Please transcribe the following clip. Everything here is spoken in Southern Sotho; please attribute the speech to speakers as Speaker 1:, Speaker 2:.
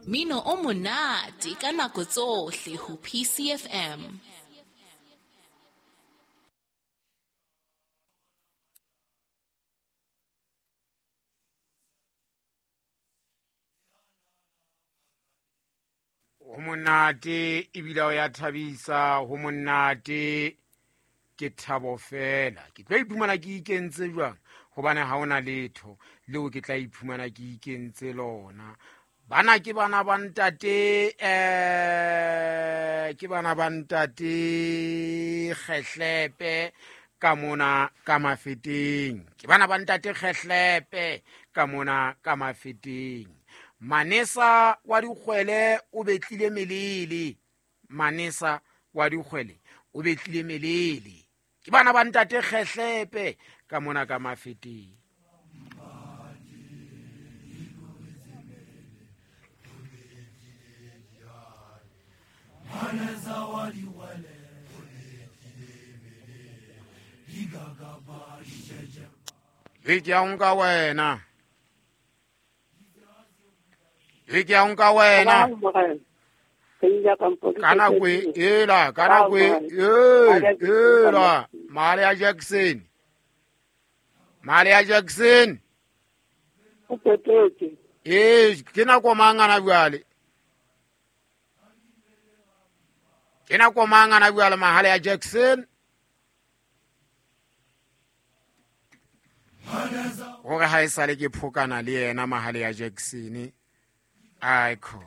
Speaker 1: Mino o monate ka nako tsohle ho PCFM.
Speaker 2: Ho monate ebile o ya thabisa, ho monate ke thabo fela. Ke tlo iphumana ke ikentse jwang? Hobane ha hona letho leo ke tla iphumana ke ikentse lona. Bana ke bana ba ntate, ke bana ba ntate Kgehlepe ka mona ka Mafeteng. Ke bana ba ntate Kgehlepe ka mona ka Mafeteng. Manesa wa dikgwele o betlile melele. Manesa wa dikgwele o betlile melele. Ke bana ba ntate Kgehlepe ka mona ka Mafeteng. Le ke ya nka wena. Le ke ya nka wena. Ka nako ela, ka nako ela, Male ya Jackson. Male ya Jackson.
Speaker 3: O petetse.
Speaker 2: Ke nako mang ana jwale? Ke nako mang ana jwale mahale ya Jackson? Hore ha e sale ke phokana le yena mahale ya Jackson. Aiko.